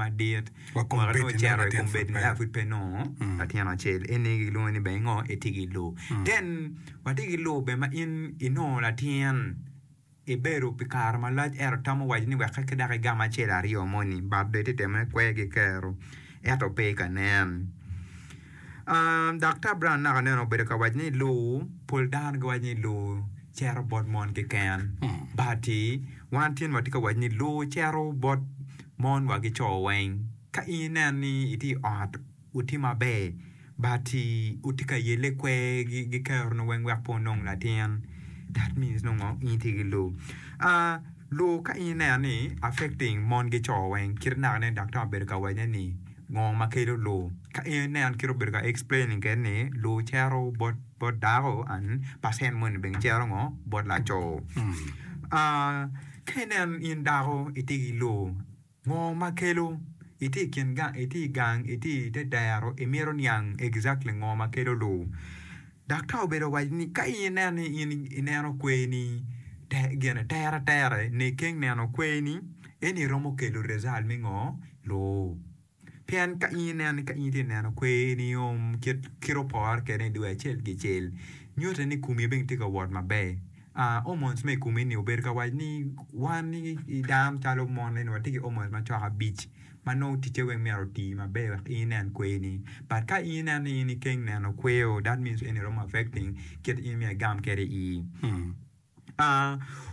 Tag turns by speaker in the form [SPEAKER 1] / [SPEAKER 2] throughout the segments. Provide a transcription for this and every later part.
[SPEAKER 1] madit,
[SPEAKER 2] Wa
[SPEAKER 1] mwaka nongo
[SPEAKER 2] kombeddi nongo
[SPEAKER 1] ocito i
[SPEAKER 2] latin pud
[SPEAKER 1] kombeddi
[SPEAKER 2] pe.
[SPEAKER 1] aa pud pe nongo latin acel. Eni gilwongo ni bene ngo itye ki lur. Then watye ki lur bene ma in inongo latin ibedo pi kare malac ento tamo waco ni wek ki dok igam acel aryo moni but dong itye temo ne kwer ki kero ento pe ka nen. Daktar Brown naka nene obedo ka waco ni lur pol dano giwaco ni lur cito bot mon keken but wan tin watye ka waco ni lur cito bot mon wa ki co weng. Ka in inen ni itye i ot wutye maber but wutye ka yelle kwer ki keroni weng wek pe wunong latin that means nongo in itye ki lur. Lur ka in ineno ni affecting mon ki co weng kit naka nen daktar obedo ka wacone ni ngo ma kelo lur ka in inen kit obedo ka explaining kwede ni lur cito bot bot dako and percent moni bene cito ngo bot laco. Ka inen in dako itye ki lur Ngo ma kelo? Itye i kin gang, itye i gang, itye i te dero, imito niang exactly ngo ma kelo lur. Daktar obedo owaco ni ka in ineno ni in ineno kweni gine tere tere nikeng neno kweni eni romo kelo result me ngo? Lur. Pien ka in ineno ni ka in itye ka neno kweni kit kit opore kwede i dwe acel kicel nyute ni komi bene tye ka wot maber. Hormones ma i komi-ni obedo ka waco ni wan i dano calo mon eni watye ki hormones macok abic ma nongo ticce weng myero oti maber wek in inen kwerni but ka in ineno ni in ikeng neno kwer that means eni romo affecting kit in myero igam kwede ii.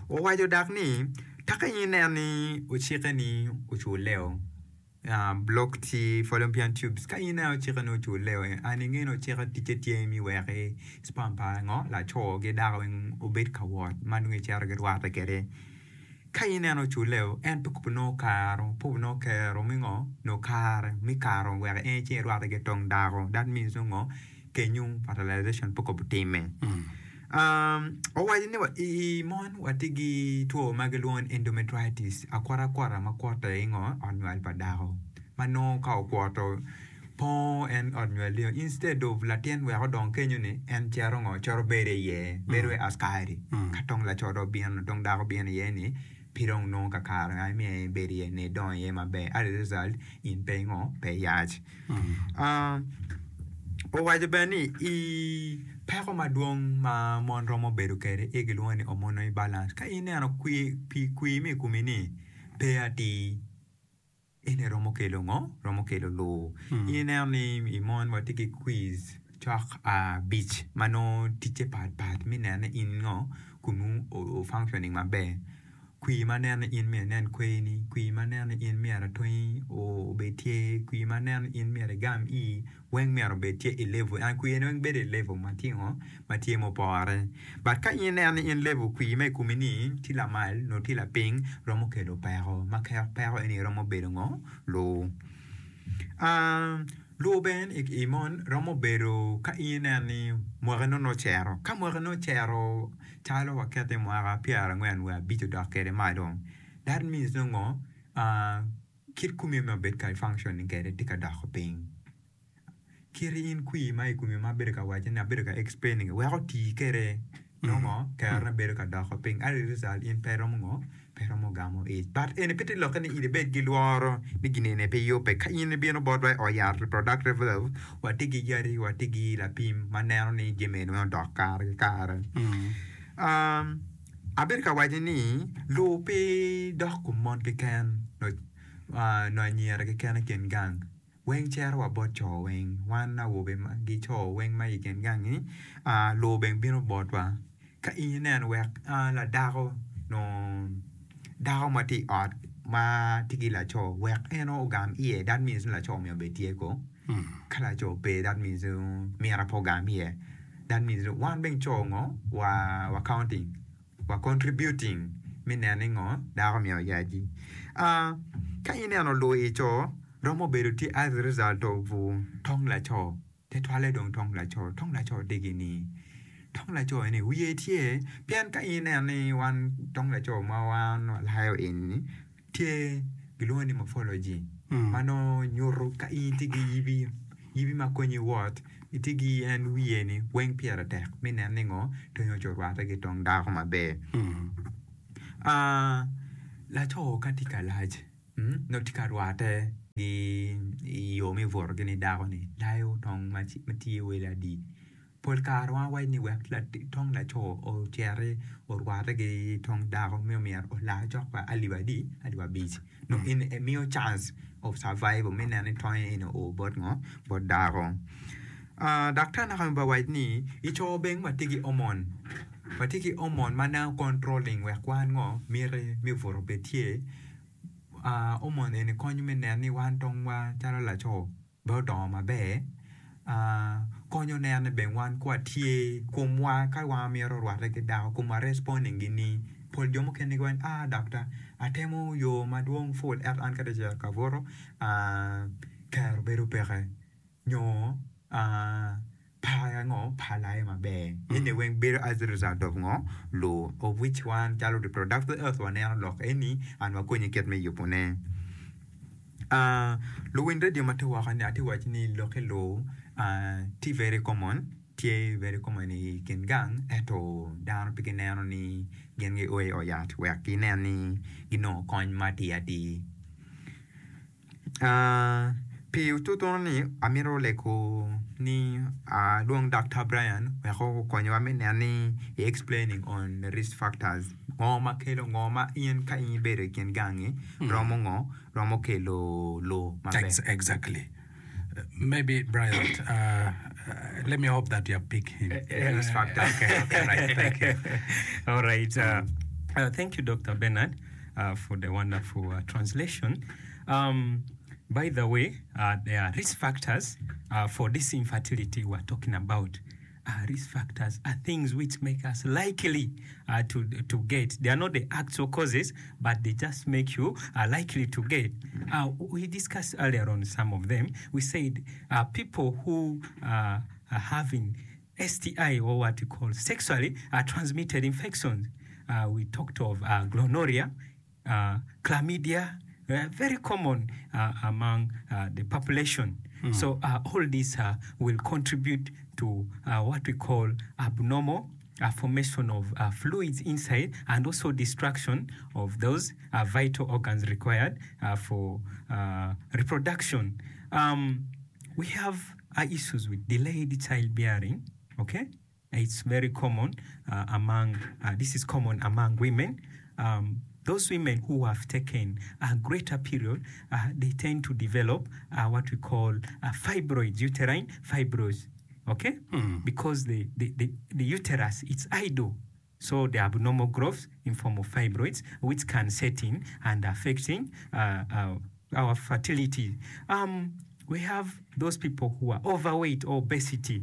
[SPEAKER 1] Owaco dok ni ka in ineno ni ocikke ni oculle-o Block tye fallopian tubes ka in ineno ocike ni oculle and inge ni ocike ticce tye me wek sperm pa ngo laco ki dako weng obed ka wot ma nongo gicito girwatte kwede ka in ineno oculle en pe kong nongo karo pe nongo kero me ngo nongo kare me karo wek en ci erwatte ki tong dako that means nongo kenyo fertilization pe kong otimme. Owaco ni i mon watye ki two ma gilwongo ni endometritis akwota akwota ma kwote i ngo ot nywal pa dako ma nongo ka okwoto pongo en ot nywal ni instead of latin wek odong kenyo ni en cito ngo cito bedo iye bedo wai askari ka tong laco dong obino tong dako obino iye ni pe dong nongo kakare ma myero ebed iye ni edong iye maber as a result in pe ingo pe iyac. Owaco bene ni i peko madwong ma mon romo bedo kwede aye gilwongo ni hormonal imbalance. Ka ineno pii kwir ma i komi ni pe atir eni romo kelo ngo? Romo kelo lur. In ineno ni i mon watye ki kwiz cok abic ma nongo ticce pat pat me neno ni in ngo komi o functioning maber. Kwir ma neno ni in myero inen kwerini, kwir ma neno ni in myero atongi obed tye, kwir ma neno ni in myero igam ii weng myero obed tye i level and kwir ni weng bedo i level ma tye ngo ma tye mupore but ka in ineno ni in level kwir ma i komi ni tye lamal nyo tye lapiny romo kelo peko ma peko eni romo bedo ngo lur. Lur bene i mon romo bedo ka in ineno ni mwaki nongo ocito ka mwaki nongo ocito calo waket ni mwaka pyerangwen wiye abic odok kwede malo that means nongo kit komi ma obed ka functioning kwede tye ka doko piny kit in kwir ma i komi ma abedo ka waco ni abedo ka explaining wek oti kwede nongo kerone bedo ka doko piny as a result in pe iromo ngo pe iromo gamo ic but eni pe te lokke ni in ibed ki lworo ni gin eni pe yubbe ka in ibino botwa i ot yat reproductive health watye ki yadi watye ki lapim ma neno ni jami eni weng odok kare ki kare abedo ka waco ni lur pe dok kom mon keken nyo anyira keken i kin gang. Weng cito wa bot co weng, wan awobe ki co weng ma i kin gangi lur bene bino botwa. Ka in ineno wek ladako nyo dako ma tye i ot ma tye ki laco wek en ogam iye that means ni laco myero obed tye ko, ka laco pe that means myero pe ogam iye that means ni wan bene co ngo wa counting. wa contributing me neno ni ngo dako myero oyaci. Ka ineno lur i co romo bedo tye as a result of tong laco tutwalle dong tong laco, tong laco degi ni tong laco eni wiye tye pien ka ineno ni wan tong laco ma wan walayo eni Tye gilwongo ni morphology ma nongo nyuto ka in itye ki yibi, yibi ma konyi wot itye ki en wiye ni weng pire tek me neno ni ngo tongi oco orwatte ki tong dako maber. Laco ka tye ka lac nongo tye ka rwatte. Gi i yo me buto gin dako ni layo tong ma tye wel adi. Pol kare wan wawaco ni wek tong laco ociti orwate ki tong dako me myero olar cok wa alip adi alip abic nongo eni emiyo chance of survival me neno ni tonge eni oo bot ngo bot dako. Daktar naka bene owaco ni i co bene watye ki hormone watye ki hormone ma nongo controlling wek wan ngo miti me buto bed tye. Hormone eni konyo me neno ni wan tongwa calo laco bene odongo maber konyo neno ni bene wan ka watye komwa ka wan mito rwate ki dako komwa responding nining pol jo mukene giwaco ni aa daktar atemo yo madwong pul ento an ka dong acito ka buto kero bedo peke nyo Par ango? Par laye maber. Eni weng bedo as a result of ngo? Lur. Of which wan calo reproductive health waneno lok eni and wakonyi kit me yubo ne. Luwiny radio ma tye woko ni atye waci ni lok ki lur tye very common, tye very common i kin gang ento dano pe gineno ni gin gio i ot yat wek ginen ni ginongo kony ma atir atir. Pi tutunu ni amito lego ni alwong Daktar Brian wek okonyowa me neno ni i explaining on the risk factors ngo ma kelo ngo ma in ka in ibedo i kin gangi romo ngo romo kelo lur maber.
[SPEAKER 2] Exactly. Maybe Brian, let me hope that you have picked him.
[SPEAKER 1] Risk factors.
[SPEAKER 2] Okay, okay, right. Thank you.
[SPEAKER 3] All right. Thank you, Dr. Bernard, for the wonderful translation. By the way, there are risk factors for this infertility we are talking about. Risk factors are things which make us likely to, to get. They are not the actual causes, but they just make you likely to get. We discussed earlier on some of them. We said people who are having STI or what we call sexually transmitted infections. We talked of gonorrhea, chlamydia, very common among the population. So all these will contribute to what we call abnormal formation of fluids inside and also destruction of those vital organs required for reproduction. We have issues with delayed childbearing, okay? It's very common among, this is common among women. Those women who have taken a greater period, they tend to develop what we call fibroids, uterine fibroids, okay? Because the, the, the, the uterus, it's idle. So the abnormal growth in form of fibroids, which can set in and affecting our fertility. We have those people who are overweight or obesity.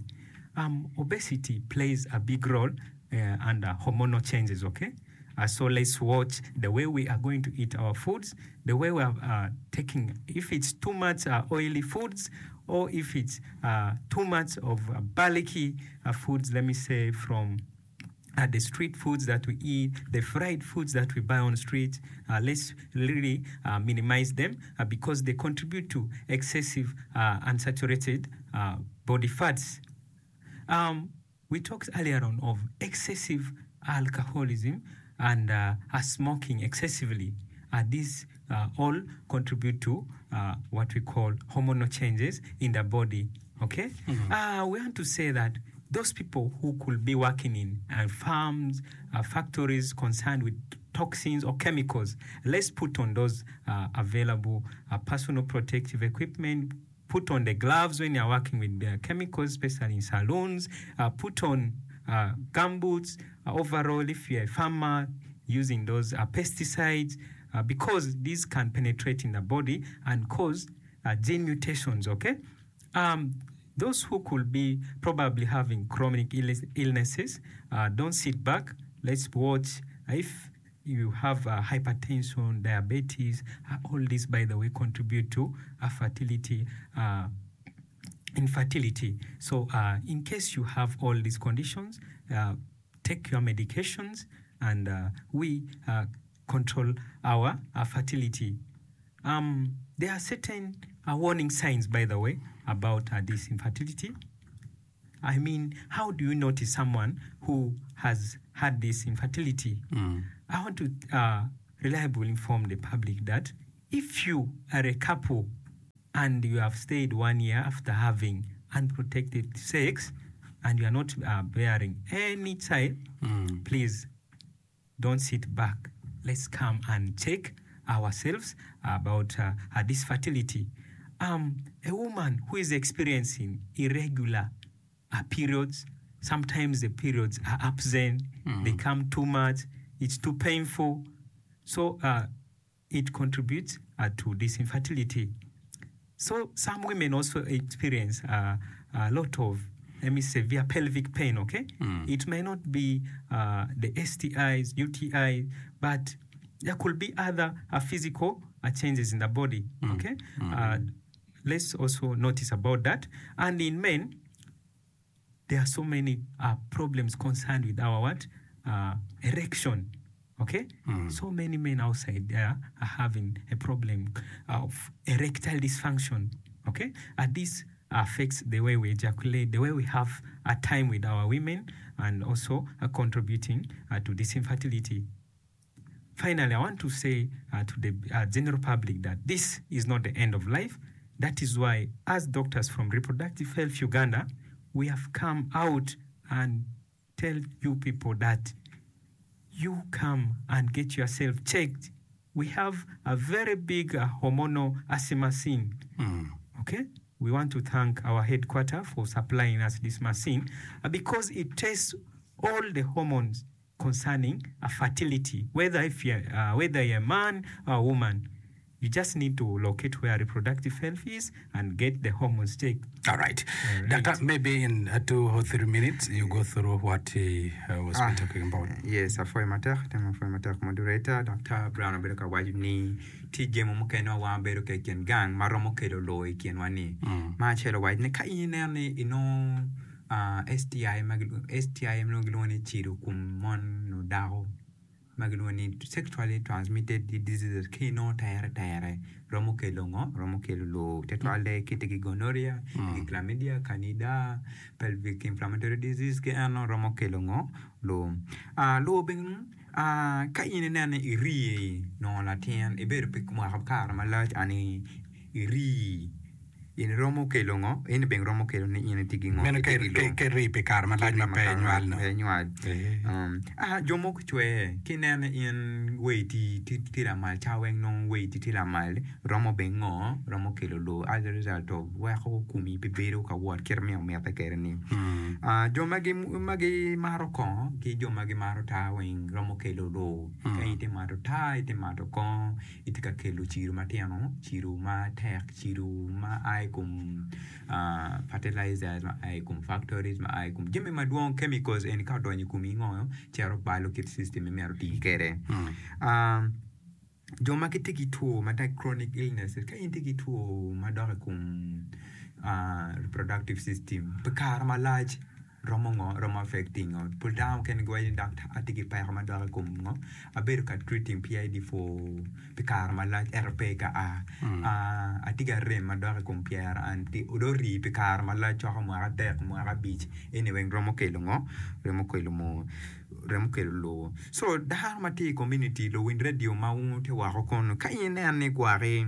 [SPEAKER 3] Obesity plays a big role under hormonal changes, okay? So let's watch the way we are going to eat our foods, the way we are taking, if it's too much oily foods, or if it's too much of bulky foods, let me say from the street foods that we eat, the fried foods that we buy on street, let's really minimize them because they contribute to excessive unsaturated body fats. We talked earlier on of excessive alcoholism and smoking excessively. These all contribute to what we call hormonal changes in the body. Okay? We want to say that those people who could be working in farms, factories concerned with toxins or chemicals, let's put on those available personal protective equipment, put on the gloves when you're working with the chemicals, especially in saloons, put on gumboots, overall if you're a farmer using those pesticides, because these can penetrate in the body and cause gene mutations, okay? Those who could be probably having chronic illnesses, don't sit back. Let's watch if you have hypertension, diabetes, all these, by the way, contribute to fertility, infertility. So in case you have all these conditions, take your medications and we control our fertility. There are certain warning signs, by the way, about this infertility. I mean, how do you notice someone who has had this infertility? I want to reliably inform the public that if you are a couple and you have stayed one year after having unprotected sex and you are not uh, bearing any child, please don't sit back. Let's come and check ourselves about uh, uh, this fertility. Um, a woman who is experiencing irregular uh, periods, sometimes the periods are absent, they come too much, it's too painful. So uh, it contributes uh, to this infertility. So some women also experience uh, a lot of let me severe pelvic pain, okay? It may not be uh, the STIs, UTI, but there could be other uh, physical uh, changes in the body, okay? Uh, let's also notice about that. And in men, there are so many uh, problems concerned with our what? Uh, erection. Okay? So many men outside there are having a problem of erectile dysfunction. Okay? And this affects the way we ejaculate, the way we have a time with our women, and also uh, contributing uh, to this infertility. Finally, I want to say uh, to the uh, general public that this is not the end of life. That is why, as doctors from Reproductive Health Uganda, we have come out and tell you people that you come and get yourself checked. We have a very big uh, hormonal assay machine. Okay? We want to thank our headquarter for supplying us this machine uh, because it tests all the hormones concerning uh, fertility, whether, if you're, uh, whether you're a man or a woman. You just need to locate where reproductive health is and get the hormones checked.
[SPEAKER 2] All right.
[SPEAKER 3] All right.
[SPEAKER 2] Doctor, maybe in 2 or 3 minutes, you go through what he was been talking about.
[SPEAKER 1] Yes, apwoyo matek, temo apwoyo matek moderator Dr. Brown obedo ka waco ni tye jemo mukene ma wan wabedo kwede i kin gang ma romo kelo loo i kinwa ni. Ma acel owaco ni ka in ineno ni inongo ah, STI ma gilwongo STI ma gilwongo ni cido kom mon nyo dako ma gilwongo ni sexually transmitted diseases ka inongo tere tere romo kelo ngo? Romo kelo loo tutwalle ka itye ki gonorrhea, ki chlamydia, candida, pelvic inflammatory disease ki eno romo kelo ngo? Loo. Ah, loo bene ah, ka in ineno ni irii nongo latin ibedo pi mwaka kare malac ani irii in romo kelo ngo? In bene romo kelo ni in itye ki ngo?
[SPEAKER 2] Meno
[SPEAKER 1] Itye ki loo.
[SPEAKER 2] ka irii pi kare malac ma pe inywal no.
[SPEAKER 1] Pe inywal.
[SPEAKER 2] Eh.
[SPEAKER 1] Ah, jo mogo cwer ki ineno ni in weiti tye lamal ca weng nongo weiti tye lamal romo bene ngo? Romo kelo loo as a result of weko komi pe bedo ka wot kit ma omite kwede ni. Ah, jo ma gimato kongo ki jo ma gimato taa weng romo kelo loo. Ka in itye mato taa, itye mato kongo itye ka kelo ciro matino, ciro matek, ciro ma a i kom fertilizers ma a i kom factories ma a i kom jami madwong chemicals eni ka odonyo i komi ngo cito balo kit system ma myero oti kwede. Jo ma gitye ki two ma like chronic illnesses ka in itye ki two madok i kom reproductive system pi kare malac romo ngo romo affecting ngo pol dano mukene giwaco ni daktar atye ki peko madok i kom ngo abedo ka treating PID for pi kare malac ento pe ka a atye ki arem madok i kom pyera and dong ori pi kare malac coko mwaka adek mwaka abic eni weng romo kelo ngo romo kelo moo romo kelo lowo so dano ma tye i community luwiny radio ma tye woko kunu ka in ineno ni gwaki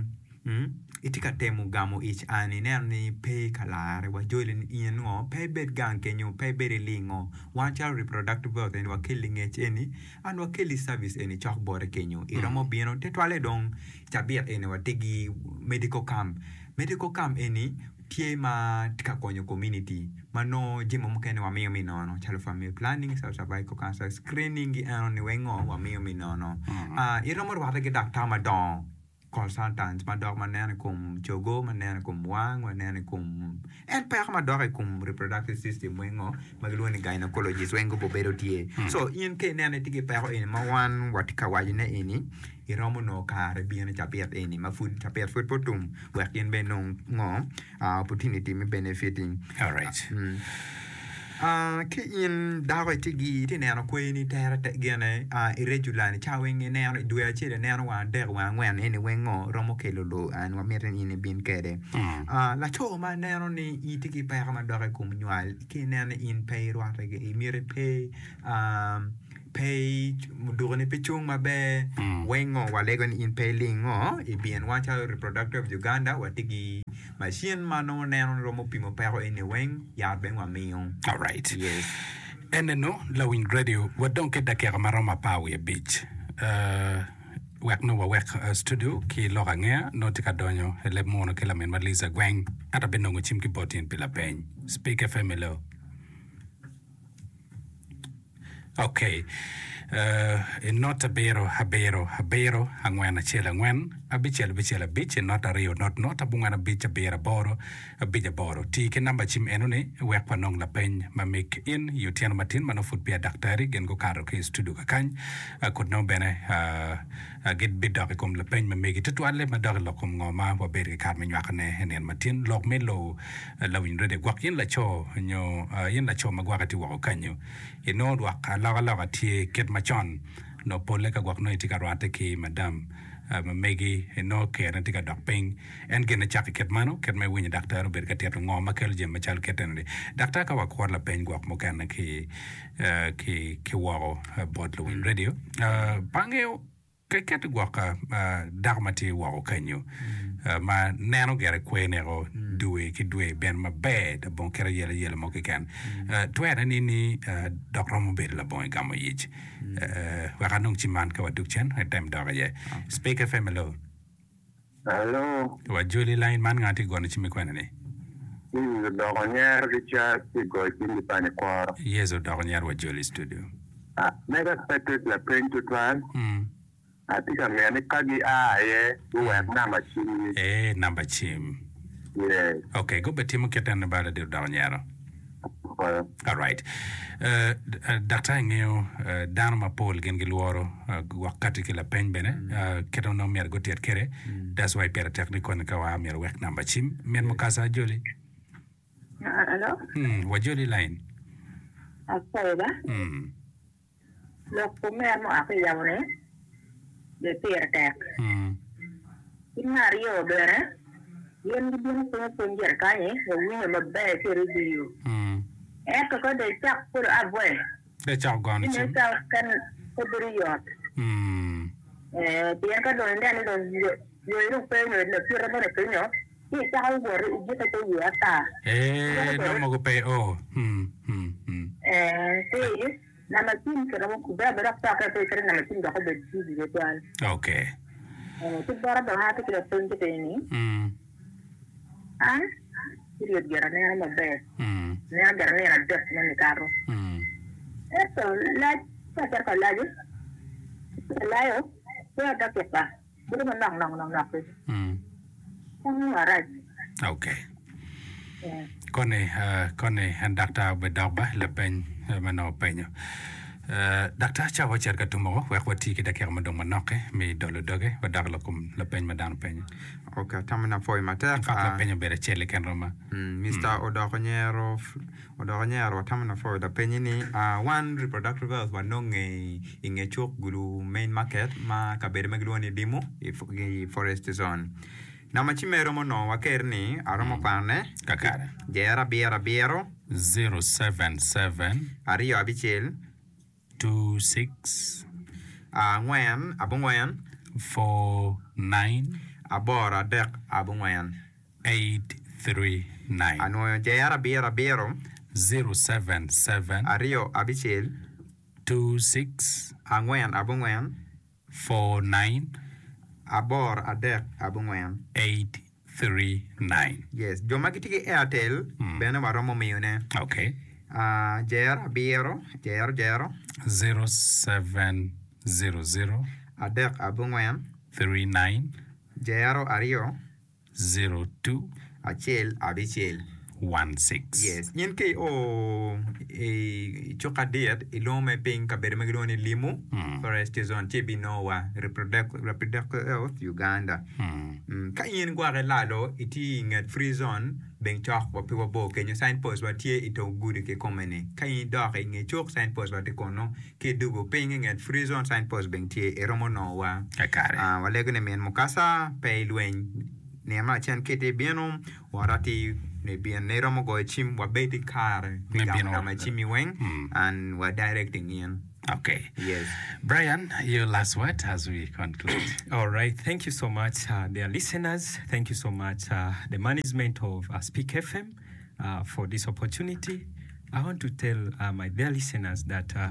[SPEAKER 1] Itye ka temo gamo ic an ineno ni pe ka larre wa joli ni in ngo pe ibed gang kenyo pe ibed ilingo wan calo reproductive health eni wakelli ngec eni and wakelli service eni cok bote kenyo iromo bino tutwalle dong cabit eni watye ki medical camp, medical camp eni tye ma tye ka konyo community ma nongo jami mukene wamiyo me nono calo family planning calo cervical cancer screening gi eno ni weng ngo wamiyo me nono iromo rwate ki daktar madongo. consultants ma dok ma neno i kom cogo, ma neno i kom wang, ma neno i kom en peko ma dok i kom reproductive system weng ngo ma gilwongo ni gynecologist weng gubo bedo tye. So in ka ineno itye ki peko eni ma wan watye ka wacone eni iromo nongo kare bino i cabit eni ma pud cabit pud pe otum wek in bene inong ngo opportunity me benefiting.
[SPEAKER 2] Alright.
[SPEAKER 1] Ki in dako itye gi itye neno kweni tere gine irregular ni ca weng ineno i dwe acel ineno wang adek wang angwen eni weng ngo romo kelo loo and wamito ni in ibin kwede. Laco ma neno ni itye ki peko madok i kom nywal ki ineno ni in pe irwate imiti pe. Pe dukoni pe cung maber weng ngo walego ni in pe iling ngo i bin wan calo Reproductive Uganda watye ki machine ma nongo neno ni romo pimo peko eni weng yat bene wamiyo.
[SPEAKER 2] Alright.
[SPEAKER 1] Yes.
[SPEAKER 2] Enenu lawiny radio wadong ki dakika maromo 15 wek nongo wawek studio ki lok angeya nongo tye ka donyo i leb muno ki laminwa Liza Gweng ento abinongo cim ki bot in pi lapeny. Speak FM hello. Ok. I not abiro, abiro, abiro, angwen, acel, angwen, abicel, abicel, abic, i not aryo, not, not, abongwen, abic, abiro, aboro, abic, aboro. Ti ki namba cim enoni wek wanong lapeny ma mig in i otyeno matin ma nongo pud peya daktari gin gukato ki i studio kakany. Kut nongo bene gibidok i kom lapeny ma megi tutwalle madok i lok kom ngo ma wabedo ki kare me nywakone i nino matin. Lok me lowo Lawiny radio, gwok in laco nyo in laco ma gwake tye woko kanyu, inongo lwak alokaloka tye kit macon nongo polle ka gwok nongo itye ka rwatte ki madam ma megi inongo kerone tye ka dok piny. En gin ecako kit meno, kit ma iwinyo daktar obedo ka tito ngo ma kelo jami macalo kit eno-ni. Daktar ka wakuro lapeny gwok mukene ki ki woko bot luwiny radio, pe angeyo. Ka iketo gwok dako ma tye woko kenyo ma neno gire kwer neko dwe ki dwe bene maber labongo kit ayelayela mo keken, twere ni ni dok romo bedo labongo igamo yic. Wek anong cim man ka wadug cen item dok iye. Speak FM hello.
[SPEAKER 4] Hello.
[SPEAKER 2] Wajoli line man nga tye gono cim ikwena ni?
[SPEAKER 4] This is Odoko Nyero ki Charles ki goyo cim ki pani kworo.
[SPEAKER 2] Yes Odoko Nyero wajoli i studio.
[SPEAKER 4] Ah, mega pe tye lapeny tutwal. Atye ka ngeyo ni ka gi a aye guwek namba cim gi.
[SPEAKER 2] Ee namba cim.
[SPEAKER 4] Yes.
[SPEAKER 2] Ok, gube timo kit eno ba ladit Odoko Nyero.
[SPEAKER 4] Apwoyo.
[SPEAKER 2] Alright. Daktar ingeyo dano mapol gin gilworo gwok kati ki lapeny bene kit ma nongo myero gutit kwede that's why pire tek ni koni ka waa myero wek namba cim. Min mukasa ajoli.
[SPEAKER 5] Hello.
[SPEAKER 2] Wajoli line.
[SPEAKER 5] Apwoyo ba. Lok kom mere ma oa ki i yamo-ni bene pire tek. Kit me aryo bene, gin gibino pwonyo pwony gire kany-nyi wawinyo maber ki i redio. Ento ka dong icak polo abwe, ci nen calo pe bedo yot. Pien ka dong ineno ni dong yoni dong pe nyo lakite moni pinyo, ci icako wot ijukke te iye ata.
[SPEAKER 2] Ee, nongo mogo pe o.
[SPEAKER 5] Ee, ci namba cim kiromo kubbe abeda dok cokke pe iketo namba cim dok obed busy tutwal.
[SPEAKER 2] Ok.
[SPEAKER 5] Ee, ki bota dong an atye ki lapeny ki piny ni, an period gire aneno maber, aneno gire nino adek ma nikato. Ento lac ka acito ka laco, alayo pe adakika. Bedo manok nok nok nok ki. Tango marac.
[SPEAKER 2] Ok. Koni, koni en daktar obed dok ba lapeny ma nongo openyo. Daktar cawa ocito ka tum woko wek wati ki dakika madong manok-ki me dolo doge wadok lok kom lapeny ma dano penyo.
[SPEAKER 1] Ok, atamo ni apwoyo matek.
[SPEAKER 2] In fact lapeny obedo acel keken roma.
[SPEAKER 1] Mister Odoko Nyero Odoko Nyero watamo ni apwoyo lapenyi ni wan reproductive health wanonge i nge cuk Gulu main market ma kabedo ma gilwongo ni Limu i forest zone. Namba ci mere romo nongo wa ker ni aromo kwanone
[SPEAKER 2] Kakare.
[SPEAKER 1] Jero abiro abiro.
[SPEAKER 2] 077.
[SPEAKER 1] Aryo abicel.
[SPEAKER 2] 26.
[SPEAKER 1] Angwen abongwen.
[SPEAKER 2] 49.
[SPEAKER 1] Aboro adek abongwen.
[SPEAKER 2] 839.
[SPEAKER 1] Anwoyo jero abiro abiro.
[SPEAKER 2] 077.
[SPEAKER 1] Aryo abicel.
[SPEAKER 2] 26.
[SPEAKER 1] Angwen abongwen.
[SPEAKER 2] 49.
[SPEAKER 1] Aboro adek abongwen.
[SPEAKER 2] 839.
[SPEAKER 1] Yes, jo ma gitye ki Airtel bene waromo miyone.
[SPEAKER 2] Okay.
[SPEAKER 1] Jero abiro, jero jero.
[SPEAKER 2] 0700.
[SPEAKER 1] Adek abongwen.
[SPEAKER 2] 39.
[SPEAKER 1] Jero aryo.
[SPEAKER 2] 02.
[SPEAKER 1] Acel abicel.
[SPEAKER 2] 16.
[SPEAKER 1] Yes, in ka io i cuk adit ilwongo me piny kabedo ma gilwongo ni Limu Forest Zone ci ibinongo wa Reproductive Health Uganda. Ka in gwok ilalo itye i nget free zone bene cok wa pe wabor kenyo sign post wa tye i tong gudi kikome ni. Ka in idok i nge cuk sign post wa tye kunu ki idwogo piny i nget free zone sign post bene tye iromo nongo wa.
[SPEAKER 2] Kakare.
[SPEAKER 1] Walego ni min mukasa pe ilweny. Nino me lacen ka itye bino, wot atir nibin ni iromo goyo cim wabed ki kare me
[SPEAKER 2] Me
[SPEAKER 1] gamo
[SPEAKER 2] bino.
[SPEAKER 1] namba cimmi weng and wa directing in.
[SPEAKER 2] Okay.
[SPEAKER 1] Yes.
[SPEAKER 2] Brian, your last word as we conclude.
[SPEAKER 3] All right, thank you so much, uh, dear listeners. Thank you so much, uh, the management of uh, Speak FM, uh, for this opportunity. I want to tell uh, my dear listeners that uh,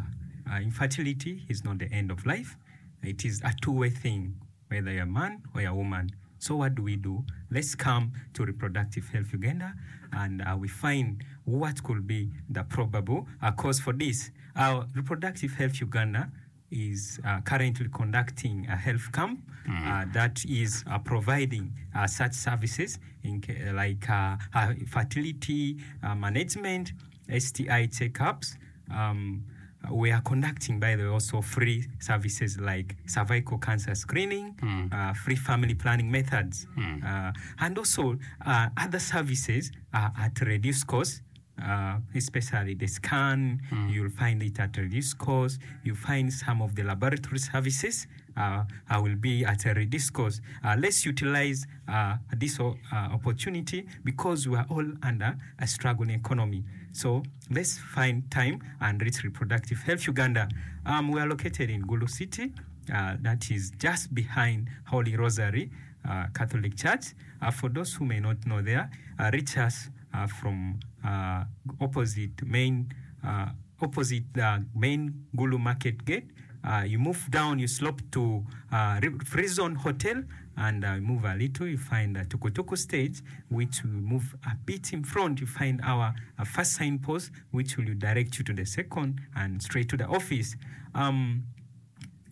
[SPEAKER 3] uh, infertility is not the end of life. It is a two-way thing, whether you're a man or you're a woman. So what do we do? Let's come to Reproductive Health Uganda and uh, we find what could be the probable uh, cause for this. Our Reproductive Health Uganda is uh, currently conducting a health camp uh, that is uh, providing uh, such services in, ca- like uh, uh, fertility uh, management, STI checkups. Um, we are conducting, by the way, also free services like cervical cancer screening, uh, free family planning methods, uh, and also uh, other services uh, at reduced cost. Uh, especially the scan, you'll find it at reduced cost. You find some of the laboratory services uh, uh, will be at a reduced cost. Uh, let's utilize uh, this uh, opportunity because we are all under a struggling economy. So let's find time and reach Reproductive Health Uganda. Um, we are located in Gulu City, uh, that is just behind Holy Rosary uh, Catholic Church. Uh, for those who may not know there, uh, reach us uh, from uh, opposite main uh, opposite the main Gulu Market Gate. Uh, you move down, you slope to uh, Free Zone Hotel, and uh, move a little, you find the Tukutuku stage, which will move a bit in front. You find our uh, first signpost, which will direct you to the second and straight to the office. Um,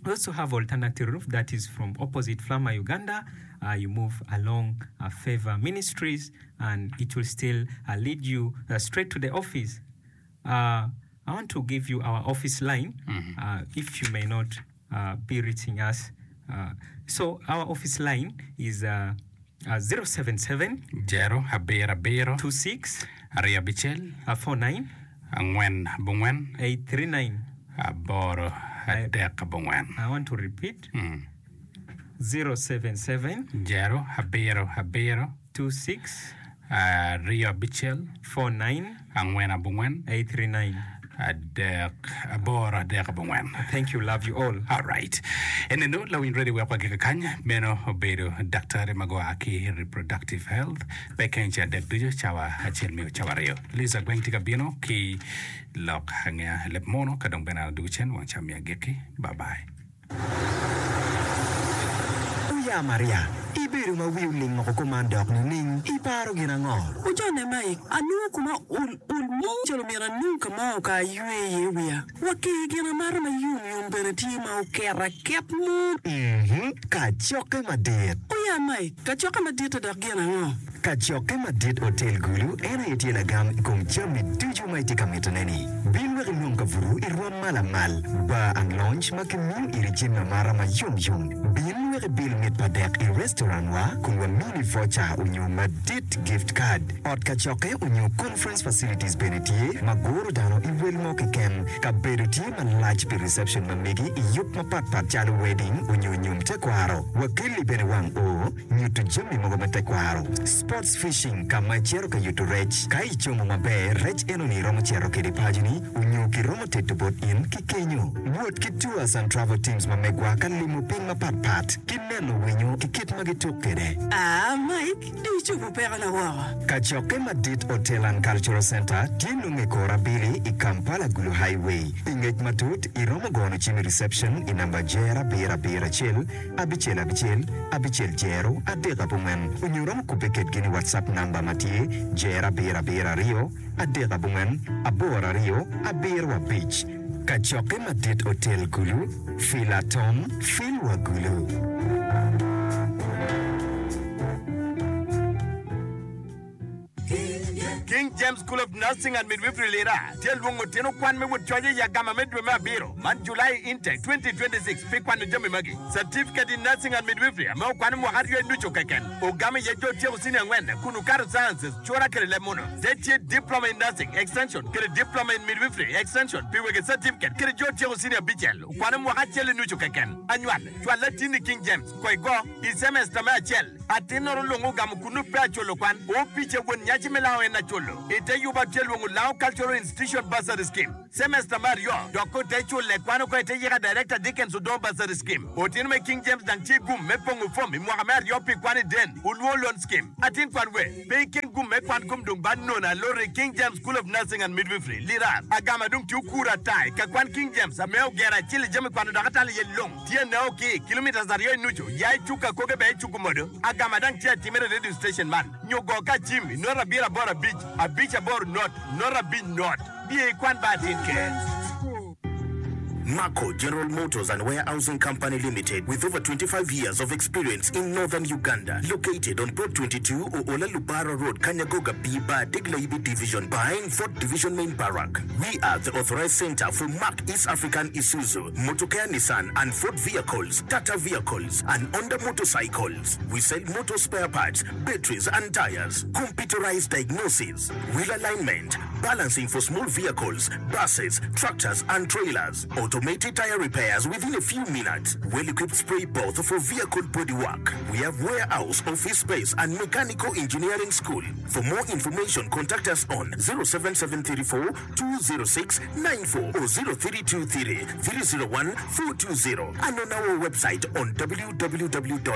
[SPEAKER 3] we also have alternative roof that is from opposite Flama, Uganda. Uh, you move along uh, Favor Ministries and it will still uh, lead you uh, straight to the office. Uh, I want to give you our office line uh, if you may not uh, be reaching us. Uh, so our office line is uh, uh, 077
[SPEAKER 2] Jero abiro abiro
[SPEAKER 3] 26
[SPEAKER 2] aryo abicel
[SPEAKER 3] uh, 49
[SPEAKER 2] angwen abongwen
[SPEAKER 3] 839.
[SPEAKER 2] aboro adek abongwen.
[SPEAKER 3] I want to repeat 077
[SPEAKER 2] Jero abiro abiro
[SPEAKER 3] 26
[SPEAKER 2] aryo abicel
[SPEAKER 3] 49
[SPEAKER 2] angwen abongwen
[SPEAKER 3] 839.
[SPEAKER 2] adek aboro adek abongwen.
[SPEAKER 3] Thank you. Love you all.
[SPEAKER 2] All right. Eneno lawiny ready wek wagika kany meno obedo daktari ma gua ki reproductive health pe keny ce adek ducu cawa acel miyo cawa aryo. Liza Gweng tye ka bino ki lok angea leb mono ka dong bene an adugu cen wang ca miyo agikki. Bye bye.
[SPEAKER 6] Oya Maria, ibedo ma wi oling woko kuman dok nining? Iparo gin ango?
[SPEAKER 7] Ojonne Mike, anongo koma ol ol mo calo myero anong ka mo ka aywe iye wiya. Wa ki gin amata ma yom yom bene tye ma oket aket mo.
[SPEAKER 6] Mhm, kacokke madit.
[SPEAKER 7] Oya Mike, kacokke madit-te dok gin ango?
[SPEAKER 6] Kacokke madit Otel Gulu en aye tye lagam i kom jami ducu ma itye ka mitone-ni. Bin wek inong kabuto i rwom ma lamal, bar and lounge ma kimiyo iri jami amata ma yom yom. Bin wek ibil mit pa dek i restaurant wa kun wamini voucher onyo madit gift card. Ot kacokke onyo conference facilities bene tye ma guro dano i wel mo keken. Kabedo tye malac pi reception ma megi i yub mapat pat calo wedding onyo nyom tekwaro. Wakelli bene wang oo. Nyuto jami mogo me tekwaro. Sports fishing, ka ma icito ka yuto rec. Ka icomo maber, rec enoni iromo cito kede paconi onyo kiromo teto bot in ki kenyo. Wot ki tours and travel teams ma megwa ka limo piny mapat pat ki neno winyo ki kit ma gituk kede.
[SPEAKER 7] Aa Mike, dong icobo pekona woko.
[SPEAKER 6] Kacokke madit Hotel and Cultural Centre tye nongo i kor abili i Kampala Gulu Highway. Pi ngec matut, iromo gono cim i reception i namba jer abiro abiro acel, abicel abicel, abicel jero, adek abongwen, onyo romo kubbe kedgi ni WhatsApp namba ma tye jero abiro abiro aryo, adek abongwen, aboro aryo, abiro abic. Kacokke madit otel Gulu, Fil atom, fil wa Gulu.
[SPEAKER 8] King James School of Nursing and Midwifery Lira tye lwongo tino kwan me wot coc i agama me dwe me abiro man, July Intake 2026, pi kwano jami magi, Certificate in Nursing and Midwifery ame okwano mwaka aryo i nucu keken, ogamo iye jo otyeko senior angwen kun okato Sciences, Cura kede leb muno. Te tye Diploma in Nursing, Extension, kede Diploma in Midwifery, Extension, pi wegi certificate kede jo otyeko senior abicel okwano mwaka acel i nucu keken. Anywal, cwal latinni King James, ko igo, i semester me acel. Atinnoro lung ogamo kunnu pe aculo kwan. Opice won nyaci me lango en aculo. I te yuba tye lwongo Lango Cultural Institution Bursary Scheme. Semester me aryo dok ko te cule kwan oko i te yika Director Dickens Odongo Bursary Scheme. Otino me King James dang tye gum me pongo fom i mwaka me aryo pi kwan i Den Olwo Loan Scheme. Atin kwan we pe iken gum me kwan kom dong ba nono aloro i King James School of Nursing and Midwifery, Lira. Agama dong tye okuro ata i ka kwan King James ame ogero acel i jami kwano dok atalo iye lung. Tye neo ki kilometres aryo i nucu ya i cuk akoge bene i cuk omodo. Agama dang tye atimere i radio station man nyo go ka cim i not abiro aboro abic abic aboro not not abic not. Biye i kwan ba atin ker.
[SPEAKER 9] Mako General Motors and Warehousing Company Limited with over 25 years of experience in Northern Uganda located on Plot 22 Oola Lubara Road Kanyagoga B Bar Degla-Ibi Division behind Fort Division Main Barrack. We are the authorized center for Mack East African Isuzu, Motokea Nissan and Ford vehicles, Tata vehicles and Honda motorcycles. We sell motor spare parts, batteries and tires, computerized diagnosis, wheel alignment, balancing for small vehicles, buses, tractors and trailers, automated tire repairs within a few minutes, well-equipped spray booth for vehicle body work. We have warehouse, office space and mechanical engineering school. For more information contact us on 07734 206 94 or 0323 301 420 and on our website on www.maco.ug.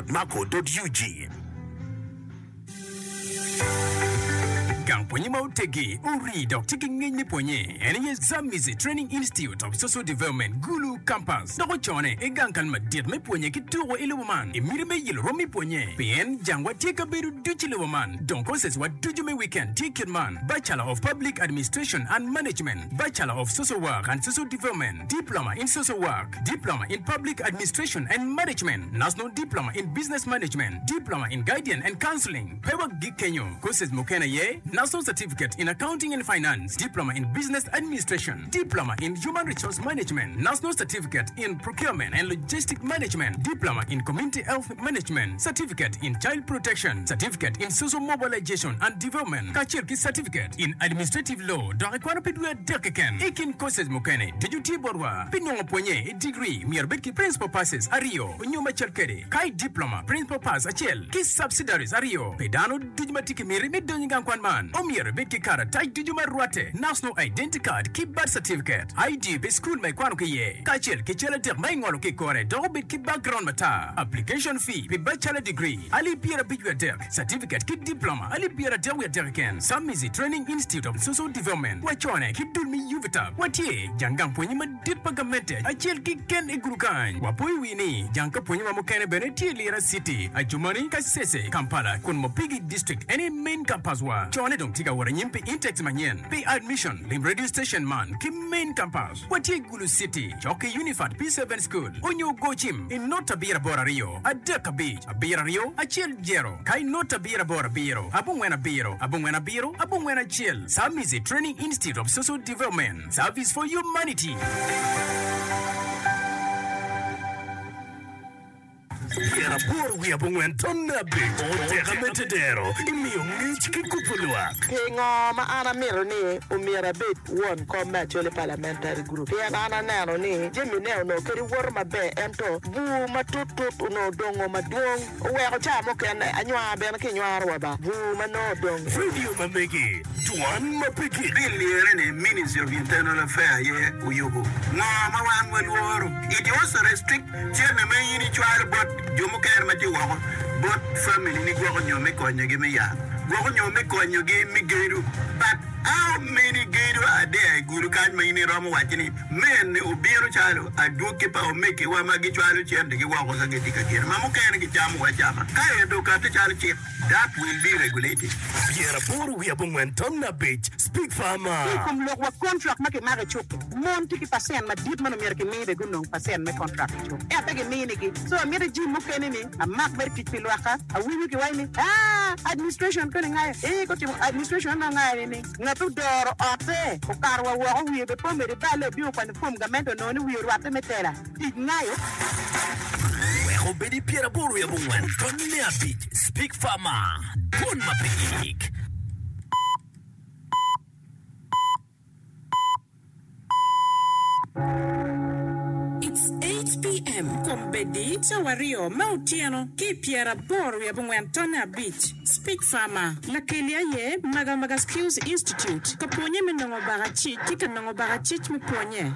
[SPEAKER 2] Gang pwonye ma oteggi, orii dok tye ki ngec me pwonye en aye Zamizi Training Institute of Social Development, Gulu Campus, dok ocone i gang kal madit me pwonye ki tuko i lobo man i miti me yelo rom me pwonye pien jangwa tye kabedo ducu i lobo man. Dong courses wa ducu me weekend tye kit man, Bachelor of Public Administration and Management, Bachelor of Social Work and Social Development, Diploma in Social Work, Diploma in Public Administration and Management, National Diploma in Business Management, Diploma in Guidance and Counseling. Pe wagik kenyo, courses mukene aye, National Certificate in Accounting and Finance, Diploma in Business Administration, Diploma in Human Resource Management, National Certificate in Procurement and Logistic Management, Diploma in Community Health Management, Certificate in Child Protection, Certificate in Social Mobilization and Development, kacel ki Certificate in Administrative Law dok ikwano pi dwe adek keken. I kin courses mukene ducu tye botwa. Pi nongo pwonye i degree myero ibed ki Principal Passes aryo nyo macal kwede, ka i Diploma, Principal Pass acel ki Subsidiaries aryo. Pi dano ducu ma tye ki miti me donyo i gang kwan man, omyero ibed ki karatac ducu ma rwatte, National Identity Card ki Birth Certificate, ID pi cukul ma ikwano ki iye, kacel ki cal adek ma ingolo ki i kore dok obed ki background matar. Application fee pi Bachelor Degree, alip 53, Certificate ki Diploma, alip 33 keken. Samizi Training Institute of Social Development, wacone ki dul me UVTAB. Watye jang gang pwonye madit pa gamente acel keken i gulu kany. Wapoyo wi ni jang ka pwonye wa mukene bene tye i Lira City, Adjumani, Kasese, Kampala kun Mopigi District en aye main campus wa. Cone dong tye ka wot anyim pi intakes manyen. Pi admission, lim radio station man ki main campus. Watye i Gulu City, cok ki Unifat P7 School, onyo go cim i not abiro aboro aryo, adek abic, abiro aryo, acel jero, ka i not abiro aboro abiro, abongwen abiro, abongwen abiro, abongwen acel. Samizi Training Institute of Social Development, Service for Humanity.
[SPEAKER 9] Pyeraboro wiye abongwen tonne abic oteka me tedero imiyo ngec ki kubo lwak.
[SPEAKER 10] Pingo ma an amito ni omyero abed won kom me Acholi Parliamentary Group? Pien an aneno ni jami ne onongo kadi woto maber ento bur matut tut onongo odongo madwong oweko ca mukene anywar bene ki nywaro wa ba bur ma nongo odong.
[SPEAKER 9] Radio ma megi dwan ma pe gik.
[SPEAKER 11] Bill lyere ni Ministry of Internal Affair aye oyubo. Ngo ma wan walworo? It also restrict Cente ma in icwalo bot jo mukene ma tye woko bot family ni gwoko nyo me konyogi me yat, gwoko nyo me konyogi me gedo. But how many gedo are there i gulu kany ma in iromo waco ni mene obino calo adwogi pa omegiwa ma gicwalo centegi woko ka gitye ka gedo ma mukene gicamo wa acama ka ento okate calo cik. That will be regulated.
[SPEAKER 9] Pyeraboro wiye abongwen tam me abic, Speak Farmer.
[SPEAKER 12] Ki i kom lok wa kontrak ma kimako i cuk-ki, mon tye ki pacent madit ma nongo myero kimi bene gunong pacent me kontrak i cuk ento pe giminigi. So amito jim mukene ni amak mere tic pi lwakka. Awinyo kiwaco ni aa administration koni ngayo ee ka otimo administration onongo ngayo ni ni ngat odoro otte okato wa woko wiye bene pe omedo iballe obino okwanyo form gamente onongo ni wiye orwatte me tela. Tic ngayo.
[SPEAKER 9] Wek obed i pyeraboro wiye abongwen tony me abic Speak Farmer, Dwon ma pe gik.
[SPEAKER 13] It's 8 PM, Kombeddi cawa aryo me otyeno ki i pyeraboro wiye abongwen tonne abic. Speak Farmer, Lakeli aye Magamaga Skills Institute ka pwonye me nongo bakacic ki ka nongo bakacic me pwonye.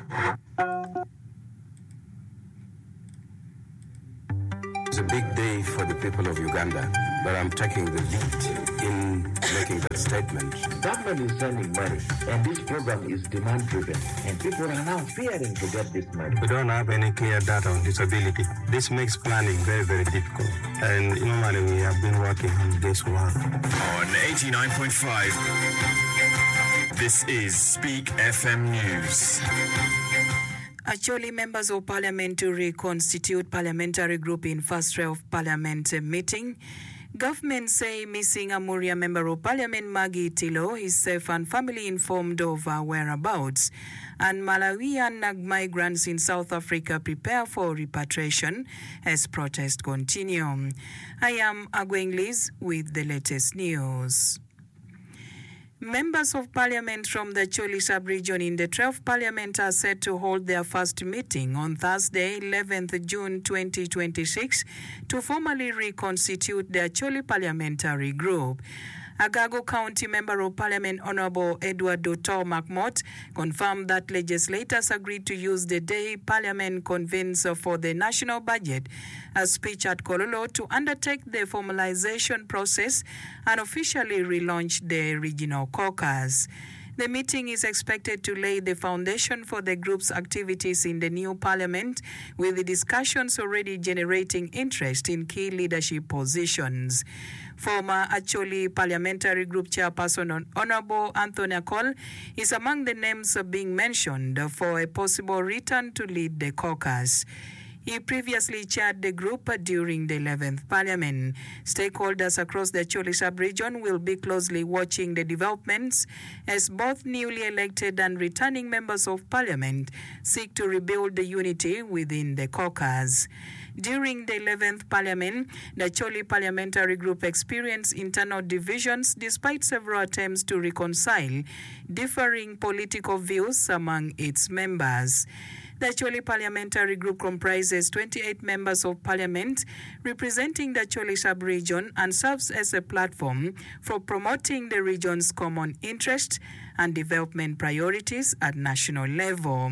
[SPEAKER 14] It's a big day for the people of Uganda but I'm taking the lead in making that statement.
[SPEAKER 15] Government is sending money and this program is demand driven and people are now fearing to get this money.
[SPEAKER 14] We don't have any clear data on disability. This makes planning very, very difficult and normally we have been working on this work.
[SPEAKER 16] On 89.5, this is Speak FM News.
[SPEAKER 17] Acholi Members of Parliament to reconstitute parliamentary group in first of parliament meeting. Government say missing Amuria Member of Parliament Maggie Tilo is safe and family informed of her whereabouts. And Malawian migrants in South Africa prepare for repatriation as protests continue. I am Agweng Liz with the latest news. Members of Parliament from the Acholi Sub-Region in the 12th Parliament are set to hold their first meeting on Thursday, 11th June 2026 to formally reconstitute the Acholi Parliamentary Group. Agago County Member of Parliament Honourable Edward Otto Makmot confirmed that legislators agreed to use the day Parliament convenes for the national budget a speech at Kololo to undertake the formalization process and officially relaunch the regional caucus. The meeting is expected to lay the foundation for the group's activities in the new parliament, with the discussions already generating interest in key leadership positions. Former Acholi Parliamentary Group Chairperson Honourable Anthony Akol is among the names being mentioned for a possible return to lead the caucus. He previously chaired the group during the 11th Parliament. Stakeholders across the Acholi sub-region will be closely watching the developments as both newly elected and returning members of parliament seek to rebuild the unity within the caucus. During the 11th Parliament, the Acholi Parliamentary Group experienced internal divisions despite several attempts to reconcile differing political views among its members. The Acholi Parliamentary Group comprises 28 members of parliament representing the Acholi sub-region and serves as a platform for promoting the region's common interests and development priorities at national level.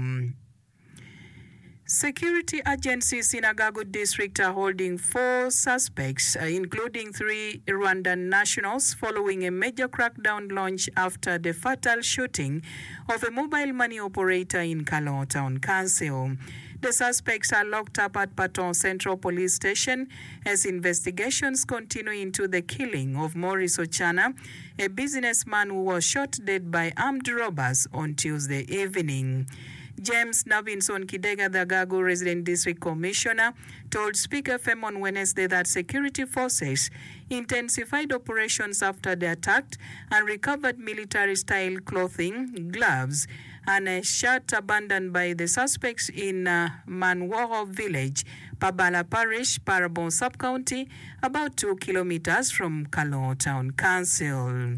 [SPEAKER 17] Security agencies in Agago District are holding four suspects, including three Rwandan nationals, following a major crackdown launched after the fatal shooting of a mobile money operator in Kalongo Town Council. The suspects are locked up at Patong Central Police Station as investigations continue into the killing of Maurice Ochana, a businessman who was shot dead by armed robbers on Tuesday evening. James Navinson Kidega, the Agago Resident District Commissioner, told Speak FM on Wednesday that security forces intensified operations after the attack and recovered military-style clothing, gloves, and a shirt abandoned by the suspects in Manworo Village, Pabala Parish, Parabon Sub-County, about two kilometres from Kalongo Town Council.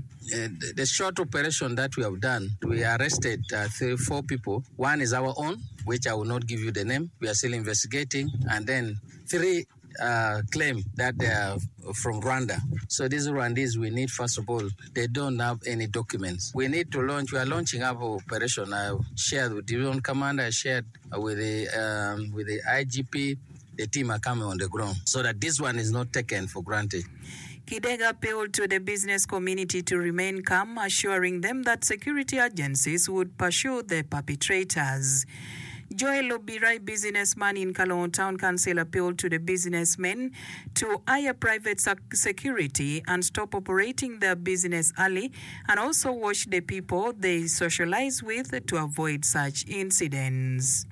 [SPEAKER 18] The short operation that we have done, we arrested three, four people. One is our own, which I will not give you the name. We are still investigating. And then three uh, claim that they are from Rwanda. So these Rwandese, we need, first of all, they don't have any documents. We need to launch, we are launching our operation. I shared with the division commander, I shared with the, um, with the IGP. The team are coming on the ground so that this one is not taken for granted.
[SPEAKER 17] Kidega appealed to the business community to remain calm, assuring them that security agencies would pursue the perpetrators. Joel Obirai, businessman in Kalongo Town Council appealed to the businessmen to hire private security and stop operating their business early and also watch the people they socialize with to avoid such incidents.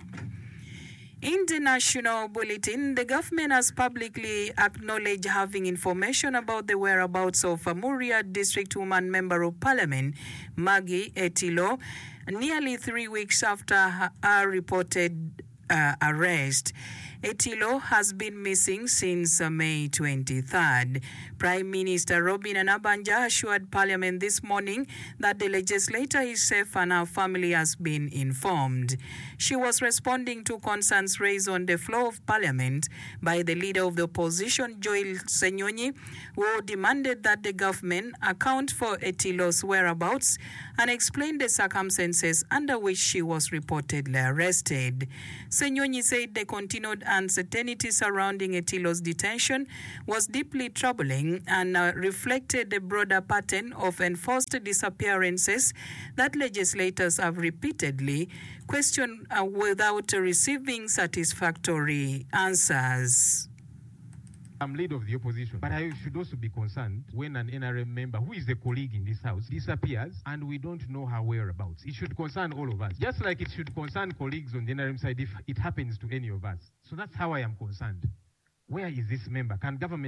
[SPEAKER 17] In the national bulletin, the government has publicly acknowledged having information about the whereabouts of Amuria District Woman Member of Parliament, Maggie Etilo, nearly 3 weeks after her reported arrest. Etilo has been missing since May 23rd. Prime Minister Robinah Nabbanja assured Parliament this morning that the legislator is safe and her family has been informed. She was responding to concerns raised on the floor of Parliament by the leader of the opposition Joel Ssenyonyi who demanded that the government account for Etilo's whereabouts and explain the circumstances under which she was reportedly arrested. Ssenyonyi said the continued uncertainty surrounding Etilo's detention was deeply troubling and reflected the broader pattern of enforced disappearances that legislators have repeatedly questioned without receiving satisfactory answers.
[SPEAKER 19] I'm leader of the opposition, but I should also be concerned when an NRM member who is a colleague in this house disappears and we don't know her whereabouts. It should concern all of us, just like it should concern colleagues on the NRM side if it happens to any of us. So that's how I am concerned. Where is this member? Can government